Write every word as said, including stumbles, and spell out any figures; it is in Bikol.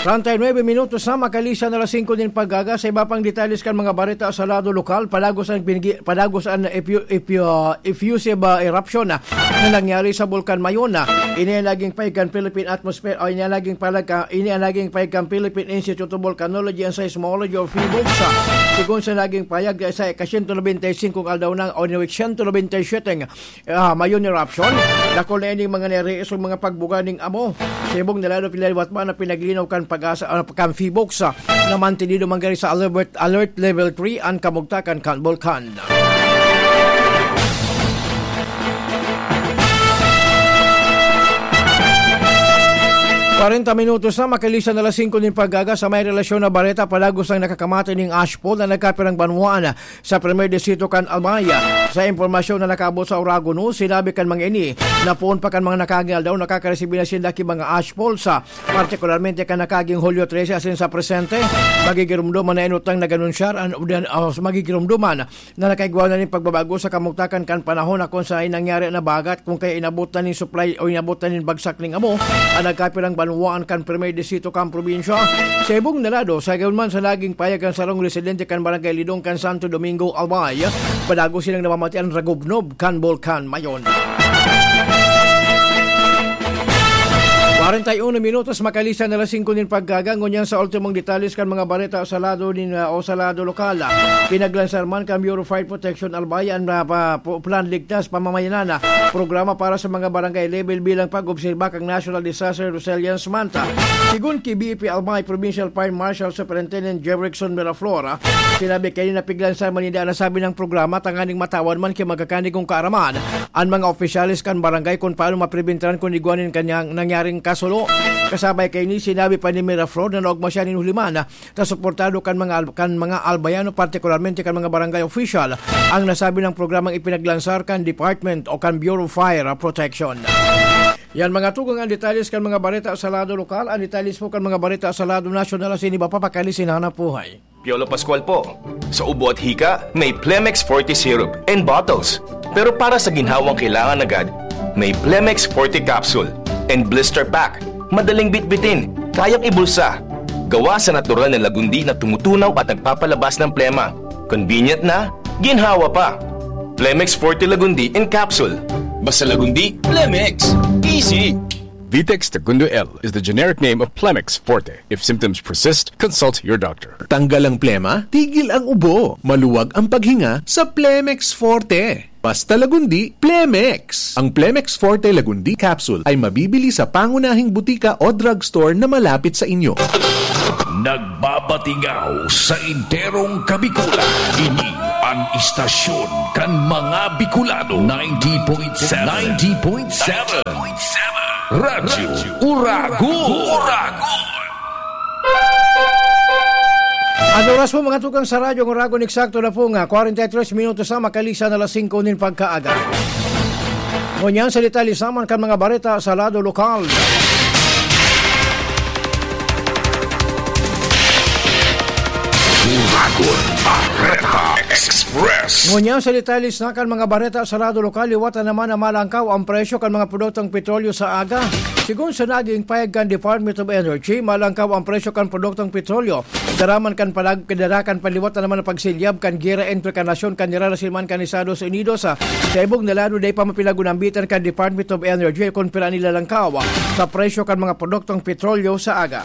Treinta y nueve minutos na makalisan na alas singko nin pagkaga. Sa iba pang detalles kan mga bareta sa lado lokal, padagos an binigi-, padagos an efu-, efu-, ah, effusive, ah, eruption, ah, na nangyari sa Bulkan Mayon, ah. Ini ang naging pahayag kan Philippine Atmosphere, o ini ang naging pahayag ka-, ini ang naging pahayag kan Philippine Institute of Volcanology and Seismology o PHIVOLCS, ah. Sigon sa naging pahayag, sa ika-siyento nobenta y singko aldaw na, o ni siyento nobenta y siyete, ah, Mayon eruption, dakul na ining mga nariis o mga pagbuga ning amo. Sa ibong na lado, pinaliwat man na pinaglinaw kan PAGASA, ah, kan PHIVOLCS, ah, na mantenido man gani sa alert, alert level three an kamugtakan kan bulkan. Kwarenta minutos na makalisan na alas singko nin pagkaga. Sa may relasyon na bareta, padagos ang nakakamatay ning ashfall na nagkapirang banwaan sa primer distrito kan Albay. Sa impormasyon na nakaabot sa Oragon News, sinabi kan mga ini na poon pa kan mga nakaging aldaw nakakaresibi na sinda ki mga ashfalls, ah, partikularmente kan nakaging Hulyo trese asin sa presente, magigiromdoman na inutang nag-anunsyar an, ah, magigiromdoman na nakaigwa na nin pagbabago sa kamugtakan kan panahon na kun saen nangyari na bagat, kun kaya inabot na nin supply o inabot na nin bagsak ning amo an nagkapirang banwaan kan primer distrito kan probinsya. Sa ibong na lado, sa gayon man sa naging pahayag kan sarong residente kan Barangay Lidong kan Santo Domingo, Albay, padagos silang namamati an ragubnob kan Bulkan Mayon. Kwarenta y uno minutos makalisan na alas singko nin pagkaga. Ngunyan sa ultimong detalles kan mga bareta sa lado nin, ah, o sa lado lokal, ah, pinaglansar man kan Bureau of Fire Protection Albay an, ah, pa-, pu-, Plan Ligtas Pamamayanan, ah, programa para sa mga barangay level bilang pag-obserba kan National Disaster Resilience Month. Sigon ki B F P Albay Provincial Fire Marshal Superintendent Jerickson Miraflor, ah, sinabi kaini na piglansar man ninda an nasabi nang programa tanganing matawan man ki magkakanigong kaaraman an mga opisyales kan barangay kun paano mapribentaran kun igwa nin kanyang nangyaring kasulo. Kasabay kaini, sinabi pa ni Miraflor na naogma siya nin huliman na suportado kan mga al-, kan mga Albayano, partikularmente kan mga barangay official, ang nasabi ng programang ipinaglansar kan department o kan Bureau of Fire Protection. Yan, mga tugang, ang detalles kan mga bareta sa lado lokal. Ang detalles po kan mga bareta sa lado nasyonal asin iba pa pakali sinanap buhay. Piolo Pascual po. Sa ubo at hika, may Plemex Forte Syrup and bottles. Pero para sa ginhawang kailangan agad, may Plemex Forte Capsule and Blister Pack. Madaling bitbitin, kayang ibulsa. Gawa sa natural na lagundi na tumutunaw at nagpapalabas ng plema. Convenient na, ginhawa pa. Plemex Forte Lagundi in Capsule. Basta Lagundi, Plemex. Easy. Vitex Tagundo L is the generic name of Plemex Forte. If symptoms persist, consult your doctor. Tanggal ang plema, tigil ang ubo, maluwag ang paghinga sa Plemex Forte. Basta Lagundi, Plemex. Ang Plemex Forte Lagundi Capsule ay mabibili sa pangunahing butika o drugstore na malapit sa inyo. Nagbabatingaw sa enterong Kabikulan. Ini an istasyon kan mga Bicolano. Ninety point seven. Ninety point seven. Radyo Uragon. An oras po, mga tugang, sa Radyo Uragon, eksakto na po nga kwarenta y tres minutos na makalisan na alas singko nin pagkaaga. Ngunyan sa detalye sa man kan mga bareta sa lado lokal. Uragon Bareta Express. Ngunyan sa detalye sa kan mga bareta sa lado lokal, liwat na naman na malangkaw ang presyo kan mga produktong petrolyo sa aga. Sigon sa naging pahayag kan Department of Energy, malangkaw ang presyo kan produktong petrolyo. Dara man kan palag-, dara kan paliwat na naman ang pagsilyab kan gera entre kan nasyon kan Iran asin man kan Estados Unidos. Sa ibong na lado, dai pa mapinagunambitan kan Department of Energy kun pira an ilalangkaw sa presyo kan mga produktong petrolyo sa aga.